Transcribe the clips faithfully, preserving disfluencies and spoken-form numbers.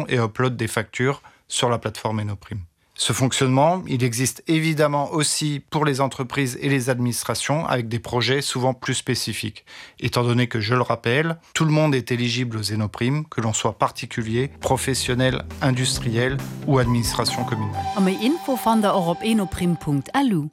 Et upload des factures sur la plateforme Enoprime. Ce fonctionnement, il existe évidemment aussi pour les entreprises et les administrations avec des projets souvent plus spécifiques. Étant donné que, je le rappelle, tout le monde est éligible aux Enoprimes, que l'on soit particulier, professionnel, industriel ou administration communale. A méi Info fannt der och op enoprime.lu.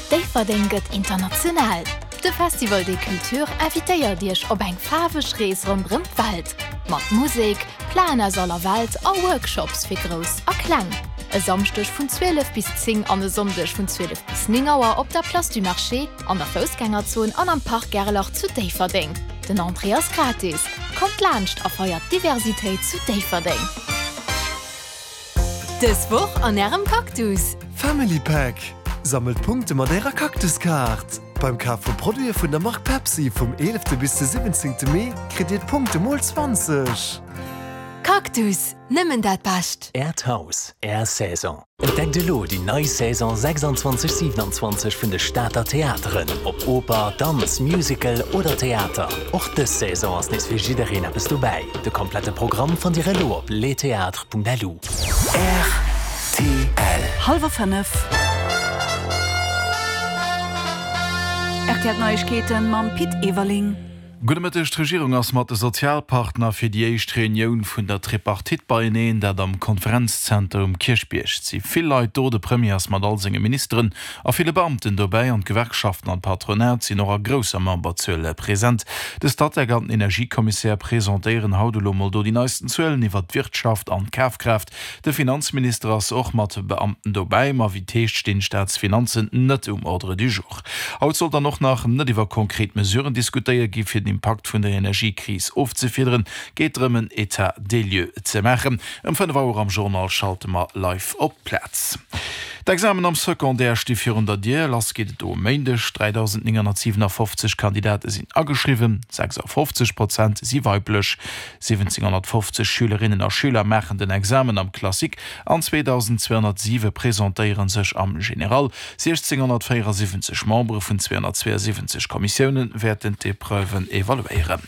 Déifferdeng gëtt international! De Festival des Cultures invitéiert Iech op eng faarweg Rees ronderëm d'Welt. Mat Musek, Plaen aus aller Welt a Workshops fir Grouss a Kleng. E Samschdeg vun zwielef bis zéng an e Sonndeg vun zwielef bis néng Auer op der Place du Marché, an der Foussgängerzon an am Parc Gerlach zu Déifferdeng. Den Entrée ass gratis. Kommt laanscht a feiert d'Diversitéit zu Déifferdeng! Dës Woch an Ärem Cactus! Family Pack, Sammelt Punkte mat Ärer Cactus-Kaart! Beim Kaf vu Produite vun der Mark Pepsi vum eelefte bis de siwwenzéngte Mee kritt Dir d'Punkte mol zwanzeg! Cactus, nëmmen dat Bescht! Äert Haus, Är Saison. Entdeckt elo déi nei Saison sechsundzwanzeg siewenundzwanzeg vun de Stater Theateren, ob Oper, Danz, Musical oder Theater. Och dës Saison ass nees fir jiddereen eppes dobäi. De komplette Programm fannt Dir elo op lestheatres.lu. Rtl. Hallwer fënnef. Rtl Neiegkeeten mam Pit Everling. Gudde Mëtteg, D'Regierung ass mat de Sozialpartner fir déi éischt Reunioun vun der Tripartite beieneen, dat am Konferenzzenter um Kierchbierg. Et si vill Leit do, de Premier ass mat all senge Ministeren a ville Beamten dobäi an d'Gewerkschaften an d'Patronat sinn och a grousser Memberzuel present. De Statec an den Energiekommissär presentéieren haut elo mol do déi neisten Zuelen iwwert d'Wirtschaft an d'Kafkraaft. De Finanzminister ass och mat Beamten dobäi, ma wéi et heescht stinn d'Staatsfinanzen net um Ordre du jour. Haut soll dann och nach net iwwer konkret Mesuren diskutéiert gi fir den Impakt vun der Energiekris ofzefiederen, geet drëm en État des lieux ze maachen. Ëm fënnef Auer am Journal schalte mer live op d'Plaz. D'Examen am Secondaire sti virun der Dier. Lass geet et do e Méindeg. dräidausendnénghonnertsiwenafoffzeg Kandidate sinn ageschriwwen, sechsafofzeg Prozent si weiblech. Siwwenzénghonnertfofzeg Schülerinnen a Schüler maachen den Examen am Classique an zweedausendzweehonnertsiwe presentéiere sech am General. siechzénghonnertvéierasiwwenzeg Membere vun zweehonnertzweeasiwwenzeg Kommissioune wäerten d'Epreuven evaluéieren.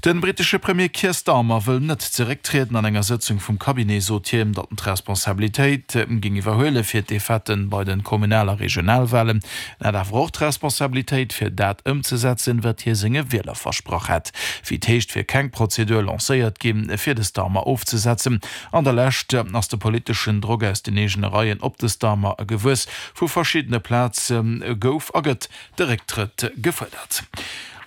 De brittesche Premier Keir Starmer wëll net zerécktrieden. An enger Sëtzung vum Cabinet sot hien, datt en d'Responsabilitéit géing iwwerhuele fir d'Defaite bei de Kommunal a Regionalwalen. En hätt awer och d'Responsabilitéit, fir dat ëmzesetzen, wat hie senge Wieler versprach hätt. Wéi et heescht, wier keng Prozedur lancéiert ginn, fir de Starmer ofzesetzen. An der Lescht ass de politeschen Drock aus den eegene Reien op de Starmer gewuess. Vu verschiddene Plaze gouf a gëtt de Récktrëtt gefuerdert.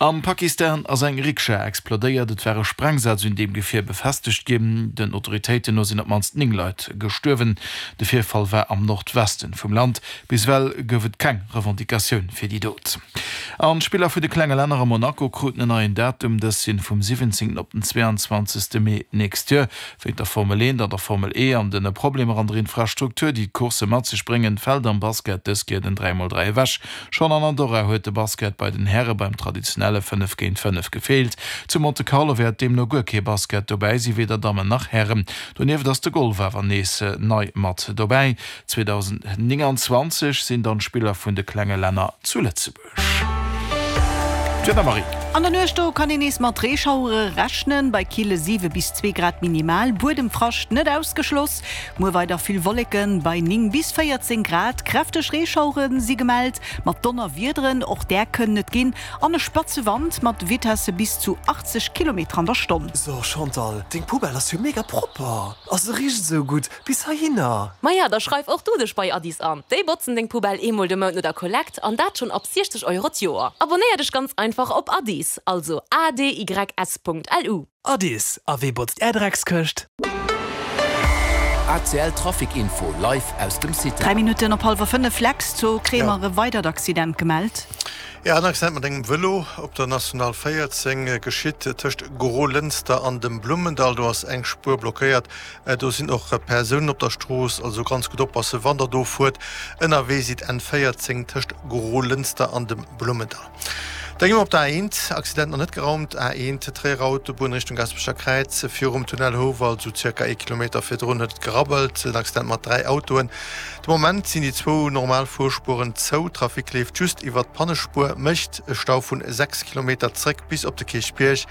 Am Pakistan ass eng Rikscha explodéiert. Et war e Sprengsaz un deem Gefier befestegt ginn. Den Autoritéiten no sinn op d'mannst néng Leit gestuerwen. De Virfall war am Nordwesten vum Land. Bis ewell gouf et keng Revendicatioun fir déi Dot. An d'Spiller vun de klenge Länner a Monaco kruten en neien Datum. Dës sinn vum siwwenzéngten op den zweeanzwanzegste Mee d'nächst Joer. Wéint der Formel eent an der Formel E an den Problemer an der Infrastruktur, déi d'Coursse mat sech bréngen, fält am Basket dës Kéier den dräi mol dräi ewech. Schonn an Andorra huet de Basket bei den Häre beim traditionelle fënnef géint fënnef gefeelt. Zu Monte Carlo wäert deemno guer kee Basket dobäi si, weder Dammen nach Hären. Donieft ass de Golf awer nees nei mat dobäi. zweedausendnénganzwanzeg sinn dann d'Spiller vun de klenge Länner zu Lëtzebuerg. D'Wieder, Marie. An der Nuecht do kann een nees mat Reeschauere rechnen, bei kille siwe bis zwee Grad minimal, Buedemfrascht net ausgeschloss. Muer weider vill Wolleken bei néng bis véierzéng Grad. Kräfteg Reeschauere si gemellt, mat Donnerwiederen, och där kënnen et ginn, an e spatze Wand mat Vitesse bis zu achtzeg Kilometer an der Stonn. So Chantal, deng Poubelle ass jo mega propper a se richt esou gutt bis heihinner. Maja, da schreif och du dech bei Addis an. Déi botzen deng Poubelle eemol de Mount no der Kollekt an dat schonn ab siechzeg Euro d'Joer. Abonnéier dech ganz einfach op Addis, also A D Y S punkt L U. Addis, a wee botzt är Dreckskëscht? A C L Trafic Info live aus dem Cita. Dräi Minutten op hallwer fënnef, Lex, do kréie mer e weidert Accident gemellt. Jo, en Accident mat engem Vëlo op der National véierzéng geschitt tëscht Gros-Lënster an dem Blummendall. Do ass eng Spuer blockéiert. Do sinn och Persounen op der Strooss, also ganz gutt oppassen, wann der do fuert. Ënnerwee sidd N véierzéng tëscht Gros-Lënster an dem Blummendall. Da gi mer op der A eent, Accident nach net geraumt, A eent, Tréierer Autobunn Richtung Gasperecher Kräiz, virum Tunnel Houwald, sou zirka ee Kilometer virdrun huet et gerabbelt, en Accident mat dräi Autoen. De Moment sinn déi zwou normal Fuerspueren zou, Trafic leeft just iwwert d'Pannespuer, mécht e Stau vun sechs Kilometer zréck bis op de Kierchbierg.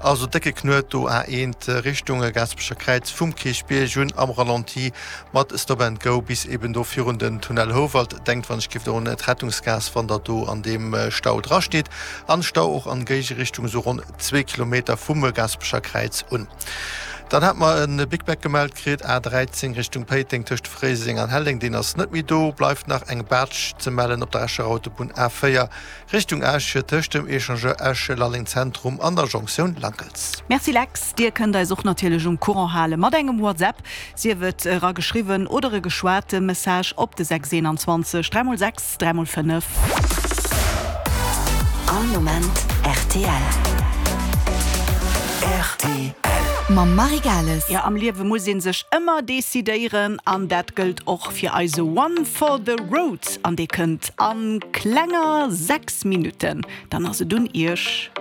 Also décke Knuet do A eent Richtung Gaasperecher Kräiz vum Kierchbierg un am Ralenti mat Stop and Go bis eben do virun den Tunnel Houwald. Denkt wann ech giff do un d'Rettungsgaass wann der do an deem Stau dra steet. An Stau och an Géigerichtung esou ronn zwee Kilometer vum Gaasperecher Kräiz un. Dann hat mer e Big Mac gemellt kritt, A dräizéng Richtung Péiteng tëscht Fréiseng an Helleng, deen ass net méi do. Bleift nach eng Baatsch ze mellen op der Escher Autobunn A véier Richtung Esch tëscht dem Echangeur Esch-Lalleng Zentrum an der Jonktioun Lankels. Merci Lex, dir kënnt eis och natierlech um Courant hale mat engem WhatsApp, sief et era geschriwwen oder e geschwate Message op de sechs eenanzwanzeg dräi mol sechs dräi mol fënnef. All Moment rtl. Rtl. Mam Marie Gales. Jo, am Liewe muss ee sech ëmmer decidéieren an dat gëllt och fir eise One for the Road an dee kënnt a klenger sechs Minutten. Dann ass et un iech.